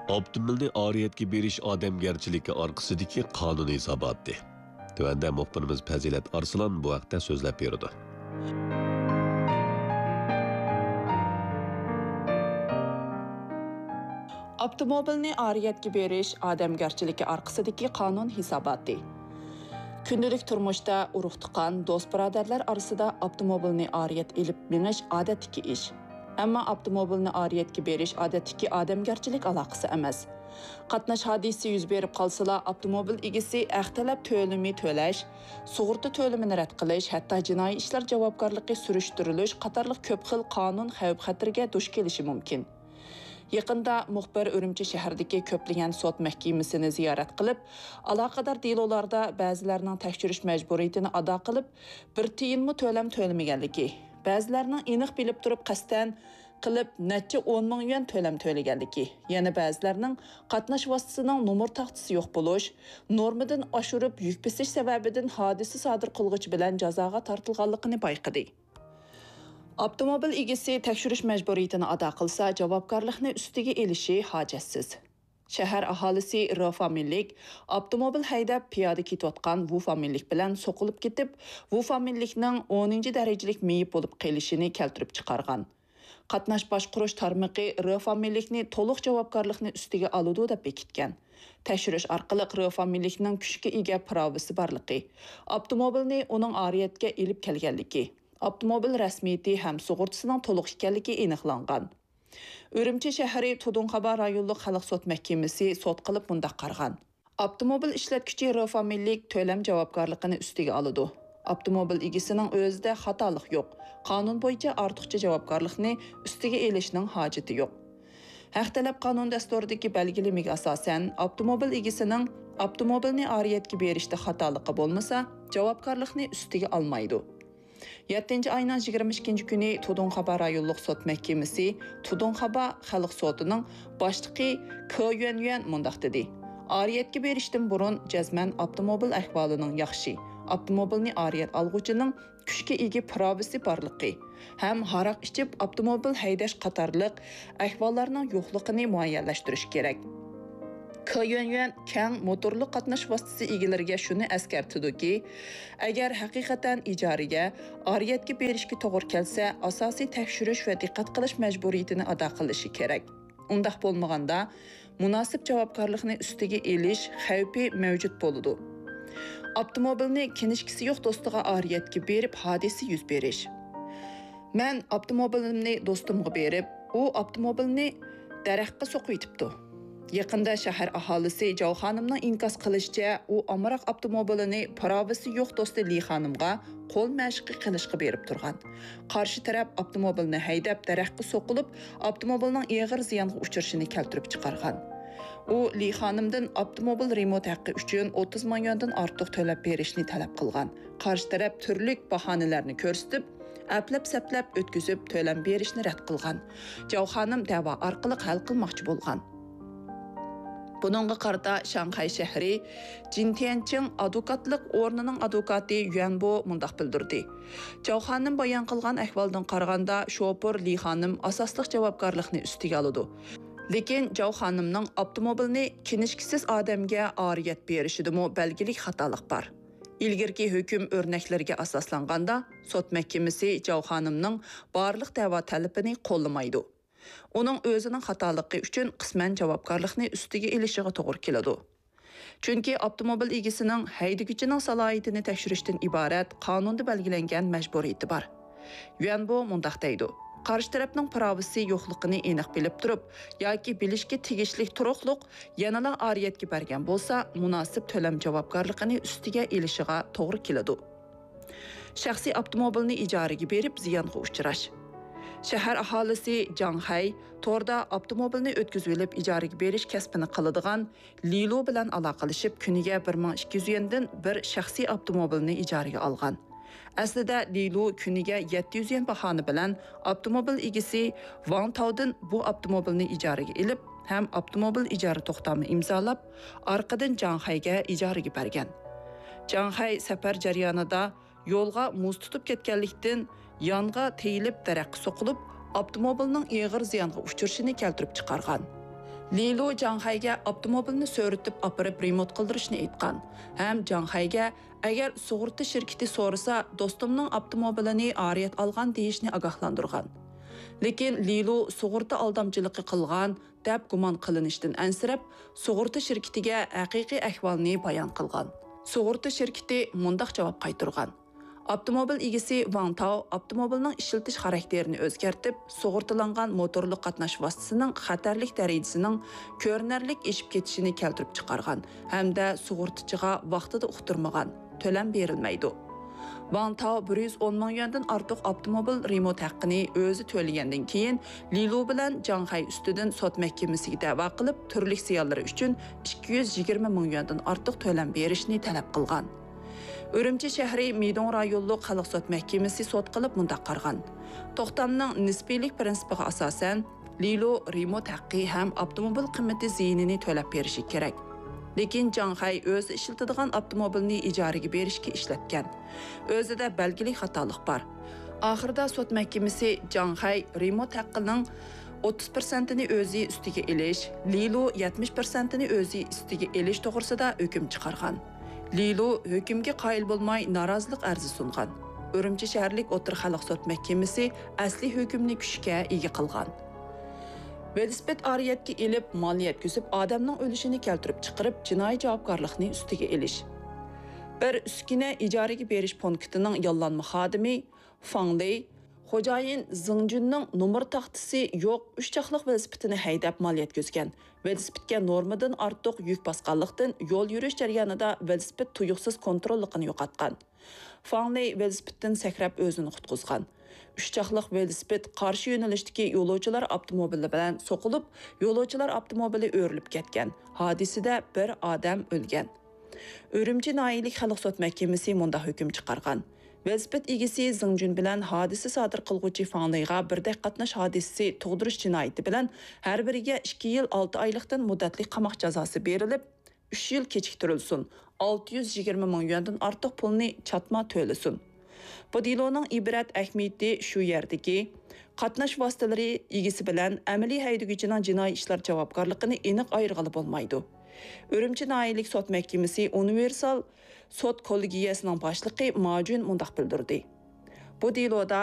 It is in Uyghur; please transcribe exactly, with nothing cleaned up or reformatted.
ئاپتوموبىلنى ئارىيەتكە بېرىش ئادەمگەرچىلىكى ئارقىسىدىكى قانۇن ھېساباتى. تۆۋەندە مۇخبىرىمىز پەزىلەت ئارسلان بۇ ھەقتە سۆزلەپ بېرىدۇ. ئاپتوموبىلنى ئارىيەتكە بېرىش ئادەمگەرچىلىكى ئارقىسىدىكى قانۇن ھېساباتى. كۈندىلىك تۇرمۇشتا ئۇرۇق-تۇغقان، دوست-بۇرادەرلەر ئارىسىدا ئاپتوموبىلنى ئارىيەت ئېلىپ مېڭىش ئادەتتىكى ئىش. ئەمما ئاپتوموبىلنى ئارىيەتكە بېرىش ئادەتتىكى ئادەمگەرچىلىك ئالاقىسى ئەمەس. قاتناش ھادىسىسى يۈز بېرىپ قالسىلا، ئاپتوموبىل ئىگىسى ھەق تەلەپ تۆلىمى تۆلەش، سۇغۇرتا تۆلىمىنى رەت قىلىش، ھەتتا جىنايى ئىشلار جاۋابكارلىقى سۈرۈشتۈرۈلۈش قاتارلىق كۆپ خىل قانۇن خەۋپ-خەتىرىگە دۇچ كېلىشى مۇمكىن. يېقىندا مۇخبىر ئۈرۈمچى شەھىرىدىكى كۆپلىگەن سوت مەھكىمىسىنى زىيارەت قىلىپ، ئالاقىدار دېلولاردا بەزىلەرنىڭ تەكشۈرۈش مەجبۇرىيىتىنى ئادا قىلىپ، بىر تىيىنمۇ تۆلەم تۆلىمىگەنلىكى، بەزىلەرنىڭ ئېنىق بىلىپ تۇرۇپ قەستەن قىلىپ نەچچە ئون مىڭ يۈەن تۆلەم تۆلىگەنلىكى، يەنە بەزىلەرنىڭ قاتناش ۋاسىتىسىنىڭ نومۇر تاختىسى يوق بولۇش، نورمىدىن ئاشۇرۇپ يۈك بېسىش سەۋەبىدىن ھادىسە سادىر قىلغۇچى بىلەن جازاغا تارتىلغانلىقىنى بايقىدى. ئاپتوموبىل ئىگىسى تەكشۈرۈش مەجبۇرىيىتىنى ئادا قىلسا، جاۋابكارلىقنى ئۈستىگە ئېلىشى ھاجەتسىز. شەھەر ئاھالىسى ر فامىلىلىك ئاپتوموبىل ھەيدەپ پىيادە كېتىۋاتقان ۋۇ فامىلىلىك بىلەن سوقۇلۇپ كېتىپ، ۋۇ فامىلىلىكنىڭ ئونىنچى دەرىجىلىك مېيىپ بولۇپ قېلىشىنى كەلتۈرۈپ چىقارغان. قاتناش باشقۇرۇش تارمىقى ر فامىلىلىكنى تولۇق جاۋابكارلىقنى ئۈستىگە ئالىدۇ دەپ بېكىتكەن. تەكشۈرۈش ئارقىلىق ر فامىلىلىكنىڭ كۈچكە ئىگە پىراۋىسى بارلىقى، ئاپتوموبىلنى ئۇنىڭ ئارىيەتكە ئېلىپ كەلگەنلىكى، ئاپتوموبىل رەسمىيىتى ھەم سۇغۇرتىسىنىڭ تولۇق ئىكەنلىكى ئېنىقلانغان. ئۈرۈمچى شەھىرى تۇدۇڭخابا رايونلۇق خەلق سوت مەھكىمىسى سوت قىلىپ مۇنداق قارىغان. ئاپتوموبىل ئىشلەتكۈچى ر فامىلىلىك تۆلەم جاۋابكارلىقىنى ئۈستىگە ئالىدۇ. ئاپتوموبىل ئىگىسىنىڭ ئۆزىدە خاتالىق يوق. قانۇن بويىچە ئارتۇقچە جاۋابكارلىقنى ئۈستىگە ئېلىشنىڭ ھاجىتى يوق. ھەق تەلەپ قانۇن دەستۇرىدىكى بەلگىلىمىگە ئاساسەن، ئاپتوموبىل ئىگىسىنىڭ ئاپتوموبىلنى ئارىيەتكە بېرىشتە خاتالىقى بولمىسا، جاۋابكارلىقنى ئۈستىگە ئالمايدۇ. يەتتىنچى ئاينىڭ يىگىرمە ئىككىنچى كۈنى تۇدۇڭخابا رايونلۇق سوت مەھكىمىسى تۇدۇڭخابا خەلق سوتىنىڭ باشلىقى ك يۈەنيۈەن مۇنداق دېدى: ئارىيەتكە بېرىشتىن بۇرۇن جەزمەن ئاپتوموبىل ئەھۋالىنىڭ ياخشى، ئاپتوموبىلنى ئارىيەت ئالغۇچىنىڭ كۈچكە ئىگە پىراۋىسى بارلىقى ھەم ھاراق ئىچىپ ئاپتوموبىل ھەيدەش قاتارلىق ئەھۋاللارنىڭ يوقلۇقىنى مۇئەييەنلەشتۈرۈش كېرەك. ك يۈەنيۈەن كەڭ موتورلۇق قاتناش ۋاسىتىسى ئىگىلىرىگە شۇنى ئەسكەرتىدۇكى، ئەگەر ھەقىقەتەن ئىجارىگە، ئارىيەتكە بېرىشكە توغرا كەلسە، ئاساسىي تەكشۈرۈش ۋە دىققەت قىلىش مەجبۇرىيىتىنى ئادا قىلىشى كېرەك. ئۇنداق بولمىغاندا، مۇناسىپ جاۋابكارلىقنى ئۈستىگە ئېلىش خەۋپى مەۋجۇت بولىدۇ. ئاپتوموبىلنى كىنىشكىسى يوق دوستىغا ئارىيەتكە بېرىپ ھادىسە يۈز بېرىش. مەن ئاپتوموبىلىمنى دوستۇمغا بېرىپ، ئۇ ئاپتوموبىلنى دەرەخكە سوقۇۋېتىپتۇ. يېقىندا شەھەر ئاھالىسى جاۋ خانىمنىڭ ئىنكاس قىلىشىچە، ئۇ ئامراق ئاپتوموبىلىنى پىراۋىسى يوق دوستى لى خانىمغا قول مەشىقى قىلىشقا بېرىپ تۇرغان. قارشى تەرەپ ئاپتوموبىلنى ھەيدەپ، دەرەخكە سوقۇلۇپ، ئاپتوموبىلنىڭ ئېغىر زىيانغا ئۇچرىشىنى كەلتۈرۈپ چىقارغان. ئۇ لى خانىمدىن ئاپتوموبىل رېمونت ھەققى ئۈچۈن ئوتتۇز مىڭ يۈەندىن ئارتۇق تۆلەپ بېرىشنى تەلەپ قىلغان. قارشى تەرەپ تۈرلۈك باھانىلەرنى كۆرسىتىپ، ئەپلەپ-سەپلەپ ئۆتكۈزۈپ تۆلەم بېرىشنى رەت قىلغان. جاۋ خانىم دەۋا ئارقىلىق ھەل قىلماقچى بولغان. بۇنىڭغا قارىتا شاڭخەي شەھىرى جىنتيەنچىڭ ئادۋوكاتلىق ئورنىنىڭ ئادۋوكاتى يۈەن بو مۇنداق بىلدۈردى: جاۋ خانىم بايان قىلغان ئەھۋالدىن قارىغاندا، شوپۇر لى خانىم ئاساسلىق جاۋابكارلىقنى ئۈستىگە ئالىدۇ. لېكىن جاۋ خانىمنىڭ ئاپتوموبىلنى كىنىشكىسىز ئادەمگە ئارىيەت بېرىشىدىمۇ بەلگىلىك خاتالىق بار. ئىلگىرىكى ھۆكۈم ئۆرنەكلىرىگە ئاساسلانغاندا، سوت مەھكىمىسى جاۋ خانىمنىڭ بارلىق دەۋا تەلىپىنى قوللىمايدۇ. ئۇنىڭ ئۆزىنىڭ خاتالىقى ئۈچۈن قىسمەن جاۋابكارلىقنى ئۈستىگە ئېلىشىغا توغرا كېلىدۇ. چۈنكى ئاپتوموبىل ئىگىسىنىڭ ھەيدىگۈچىنىڭ سالاھىيىتىنى تەكشۈرۈشتىن ئىبارەت قانۇندا بەلگىلەنگەن مەجبۇرىيىتى بار. يۈەن بو مۇنداق دەيدۇ: قارشى تەرەپنىڭ پىراۋىسى يوقلۇقىنى ئېنىق بىلىپ تۇرۇپ ياكى بىلىشكە تېگىشلىك تۇرۇقلۇق يەنىلا ئارىيەتكە بەرگەن بولسا، مۇناسىپ تۆلەم جاۋابكارلىقىنى ئۈستىگە ئېلىشىغا توغرا كېلىدۇ. شەخسىي ئاپتوموبىلنى ئىجارىگە بېرىپ زىيانغا ئۇچراش. شەھەر ئاھالىسى جاڭ خەي توردا ئاپتوموبىلنى ئۆتكۈزۈۋېلىپ ئىجارىگە بېرىش كەسپىنى قىلىدىغان لىلۇ بىلەن ئالاقىلىشىپ، كۈنىگە بىر مىڭ ئىككى يۈز يۈەندىن بىر شەخسىي ئاپتوموبىلنى ئىجارىگە ئالغان. ئەسلىدە لىلۇ كۈنىگە يەتتە يۈز يۈەن باھانە بىلەن ئاپتوموبىل ئىگىسى ۋاڭ تاۋدىن بۇ ئاپتوموبىلنى ئىجارىگە ئېلىپ ھەم ئاپتوموبىل ئىجارە توختامى ئىمزالاپ، ئارقىدىن جاڭ خەيگە ئىجارىگە بەرگەن. جاڭ خەي سەپەر جەريانىدا يولغا مۇز تۇتۇپ كەتكەنلىكتىن، يانغا تېيىلىپ دەرەخكە سوقۇلۇپ، ئاپتوموبىلنىڭ ئېغىر زىيانغا ئۇچرىشىنى كەلتۈرۈپ چىقارغان. لىلۇ جاڭخەيگە ئاپتوموبىلنى سۆرىتىپ ئاپىرىپ رېمونت قىلدۇرۇشنى ئېيتقان ھەم جاڭخەيگە، ئەگەر سۇغۇرتا شىركىتى سورىسا، دوستۇمنىڭ ئاپتوموبىلىنى ئارىيەت ئالغان دېيىشنى ئاگاھلاندۇرغان. لېكىن لىلۇ سۇغۇرتا ئالدامچىلىقى قىلغان دەپ گۇمان قىلىنىشتىن ئەنسىرەپ، سۇغۇرتا شىركىتىگە ھەقىقىي ئەھۋالنى بايان قىلغان. سۇغۇرتا شىركىتى مۇنداق جاۋاب قايتۇرغان: ئاپتوموبىل ئىگىسى ۋاڭ تاۋ ئاپتوموبىلنىڭ ئىشلىتىش خاراكتېرىنى ئۆزگەرتىپ، سۇغۇرتىلانغان موتورلۇق قاتناش ۋاسىتىسىنىڭ خەتەرلىك دەرىجىسىنىڭ كۆرۈنەرلىك ئېشىپ كېتىشىنى كەلتۈرۈپ چىقارغان ھەمدە سۇغۇرتىچىغا ۋاقتىدا ئۇقتۇرمىغان، تۆلەم بېرىلمەيدۇ. ۋاڭ تاۋ بىر يۈز ئون مىڭ يۈەندىن ئارتۇق ئاپتوموبىل رېمونت ھەققىنى ئۆزى تۆلىگەندىن كېيىن، لىلۇ بىلەن جاڭخەي ئۈستىدىن سوت مەھكىمىسىگە دەۋا قىلىپ، تۈرلۈك زىيانلىرى ئۈچۈن ئىككى يۈز يىگىرمە مىڭ يۈەندىن ئارتۇق تۆلەم بېرىشنى تەلەپ قىلغان. ئۈرۈمچى شەھىرى مىدوڭ رايونلۇق خەلق سوت مەھكىمىسى سوت قىلىپ مۇنداق قارىغان: توختامنىڭ نىسپىيلىك پىرىنسىپىغا ئاساسەن، لىلۇ رېمونت ھەققى ھەم ئاپتوموبىل قىممىتى زىيىنىنى تۆلەپ بېرىشى كېرەك. لېكىن جاڭخەي ئۆزى ئىشلىتىدىغان ئاپتوموبىلنى ئىجارىگە بېرىشكە ئىشلەتكەن. ئۆزىدە بەلگىلىك خاتالىق بار. ئاخىرىدا سوت مەھكىمىسى جاڭخەي رېمونت ھەققىنىڭ ئوتتۇز پىرسەنتىنى ئۆزى ئۈستىگە ئېلىش، لىلۇ يەتمىش پىرسەنتىنى ئۆزى ئۈستىگە ئېلىش توغرىسىدا ھۆكۈم چىقارغان. لىلۇ ھۆكۈمگە قايىل بولماي نارازىلىق ئەرزى سۇنغان. ئۈرۈمچى شەھەرلىك ئوتتۇرا خەلق سوت مەھكىمىسى ئەسلى ھۆكۈمنى كۈچكە ئىگە قىلغان. ۋېلىسىپىت ئارىيەتكە ئېلىپ، مال يەتكۈزۈپ، ئادەمنىڭ ئۆلۈشىنى كەلتۈرۈپ چىقىرىپ، جىنايى جاۋابكارلىقنى ئۈستىگە ئېلىش. بىر ئۈسكۈنە ئىجارىگە بېرىش پونكىتىنىڭ ياللانما خادىمى فاڭ لېي، خوجايىن زېڭ جۈننىڭ نومۇر تاختىسى يوق ئۈچ چاقلىق ۋېلىسىپىتىنى ھەيدەپ مال يەتكۈزگەن. ۋېلىسىپىتكە نورمىدىن ئارتۇق يۈك باسقانلىقتىن، يول يۈرۈش جەريانىدا ۋېلىسىپىت تۇيۇقسىز كونتروللۇقىنى يوقاتقان. فاڭ لېي ۋېلىسىپىتتىن سەكرەپ ئۆزىنى قۇتقۇزغان. ئۈچ چاقلىق ۋېلىسىپىت قارشى يۆنىلىشتىكى يولۇچىلار ئاپتوموبىلى بىلەن سوقۇلۇپ، يولۇچىلار ئاپتوموبىلى ئۆرۈلۈپ كەتكەن. ھادىسىدە بىر ئادەم ئۆلگەن. ئۈرۈمچى ناھىيەلىك خەلق سوت مەھكىمىسى مۇنداق ھۆكۈم چىقارغان: ۋېلىسىپىت ئىگىسى زېڭ جۈن بىلەن ھادىسە سادىر قىلغۇچى فاڭ لېيغا بىردەك قاتناش ھادىسىسى تۇغدۇرۇش جىنايىتى بىلەن ھەر بىرىگە ئىككى يىل ئالتە ئايلىقتىن مۇددەتلىك قاماق جازاسى بېرىلىپ، ئۈچ يىل كېچىكتۈرۈلسۇن، ئالتە يۈز يىگىرمە مىڭ يۈەندىن ئارتۇق پۇلنى چاتما تۆلىسۇن. بۇ دېلونىڭ ئىبرەت ئەھمىيىتى شۇ يەردىكى، قاتناش ۋاسىتىلىرى ئىگىسى بىلەن ئەمەلىي ھەيدىگۈچىنىڭ جىنايى ئىشلار جاۋابكارلىقىنى ئېنىق ئايرىغىلى بولمايدۇ. ئۈرۈمچى ناھىيەلىك سوت مەھكىمىسى ئۇنىۋېرسال سوت كوللېگىيەسىنىڭ باشلىقى ما جۈن مۇنداق بىلدۈردى: بۇ دېلودا